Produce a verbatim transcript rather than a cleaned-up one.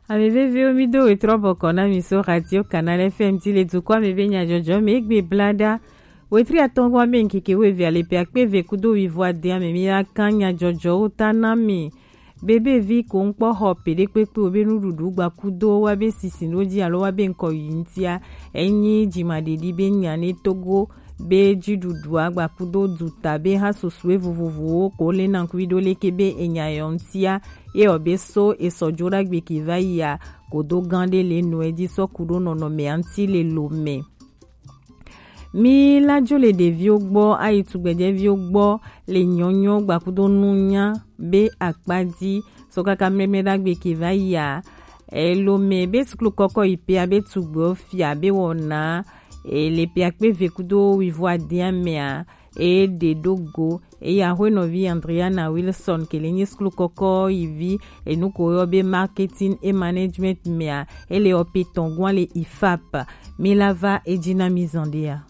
Ame veviwo, mi do wetrɔ bɔkɔ na mi so Radio Canal F M ti le dukɔ me be nyadzɔdzɔ me egbe blada. Wetri atɔngwa me nkeke weve ale pe akpe ve kudo wivo adea me mi la kan nyadzɔdzɔwo ta na mi. Bebe vi ko ŋkpɔ xɔ pe ɖe kpekpe wo be nuɖuɖu gba kudo wa be sisi no ji alo wa be ŋkɔ yi ŋtia. Enyi jimaɖeɖi be nya ne Togo be jiɖuɖua gba kudo duta be ha susue vovovowo ko le na ŋkuvi ɖo leke be enya yɔ ŋtia. Ye ɔ be so esɔ jo ɖagbe ke va yia, kodo gan ɖe le nɔ edzi sɔ ku ɖo nɔnɔme aŋti le lo me. Mi la jo le ɖeviwo gbɔ ayi tugbedzɛviwo gbɔ le nyɔnyɔ gbakudo nunya be akpa dzi sɔ kaka mlɛmlɛ ɖagbe ke va yia. Elo me be suklu kɔkɔ yi pea be tugbewo fia be wɔna ele pea kpe ve kudo wivo adea mea e ɖe ɖo go. Eya hwenɔvi Andriana Wilson ke le nyi suklu kɔkɔ yi vi enu ko yɔ be marketing et management mea, ele ɔ pe tɔn gwan le ifap. Mi la va edzi na mi zan ɖea.